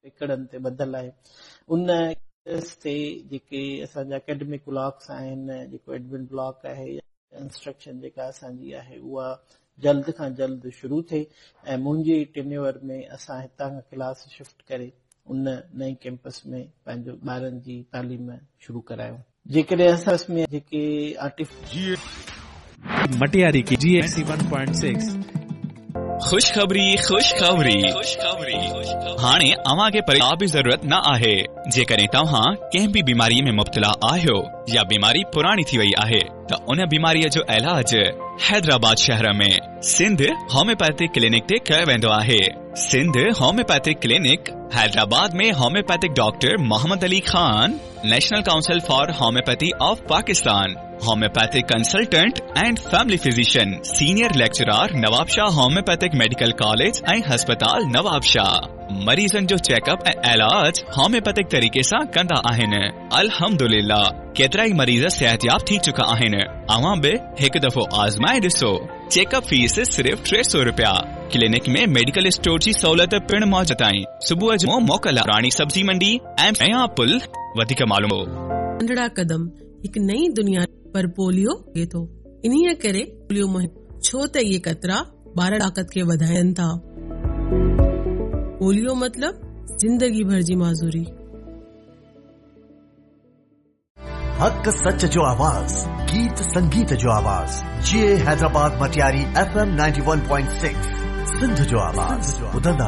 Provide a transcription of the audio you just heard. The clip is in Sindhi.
ايڪڙن تي ٻڌل آهي. ان ڪيمپس تي جيڪي اسان جا اڪيڊمڪ بلاڪس آهن، جيڪو ايڊمن بلاڪ آهي يا انسٽرڪشن جيڪا اسان جي آهي اها جلد کان جلد شروع ٿئي ۽ منهنجي ٽينيور ۾ اسان هتان کان ڪلاس شفٽ ڪري ان نئين ڪيمپس ۾ پنهنجو ٻارن جي تعليم شروع ڪرايون. جيڪڏهن اسان ۾ جيڪي آرٽيفيشل. جي مٽياري ڪي جي 91.6. خوشخبري خوشخبري هاڻي اوهان کي ڪا به ضرورت نه آهي جيڪڏهن توهان ڪنهن به بيماري ۾ مبتلا آهيو يا بيماري پراڻي ٿي وئي آهي ته ان بيماري جو علاج حيدرآباد شهر ۾ سنڌ هوميوپيٿڪ ڪلينڪ تي ڪيو ويندو آهي Sindh homeopathic clinic Hyderabad ۾ homeopathic doctor Muhammad Ali Khan national council for homeopathy of Pakistan homeopathic consultant and family physician senior lecturer Nawabshah homeopathic medical college ۽ هسپتال Nawabshah مريضن جو چيڪ اپ ۽ علاج هوميوپيٿڪ طريقي سان ڪندا آهن الحمدلله ڪيترائي مريض صحتياب ٿي چڪا آهن اوهان به هڪ دفعو آزمائي ڏسو چيڪ اپ فيس صرف 300 رپيا ڪلينڪ ۾ ميڊيڪل اسٽور جي سهولت پڻ موجود آهي صبح جو موڪل راڻي سبزي منڊي ۽ نيا پل وڌيڪ معلوم. ننڍڙا قدم هڪ نئين دنيا پر پوليو ٿئي ٿو انهيء ڪري پوليو مهم ڇو ته اهي قطرا ٻار طاقت کي وڌائين ٿا. پوليو مطلب زندگي ڀر جي معذوري. حق سچ جو آواز گيت سنگيت جو آواز جي حيدرآباد مٽياري ايف ايم 91.6 سنڌ جو آواز ٻڌندا.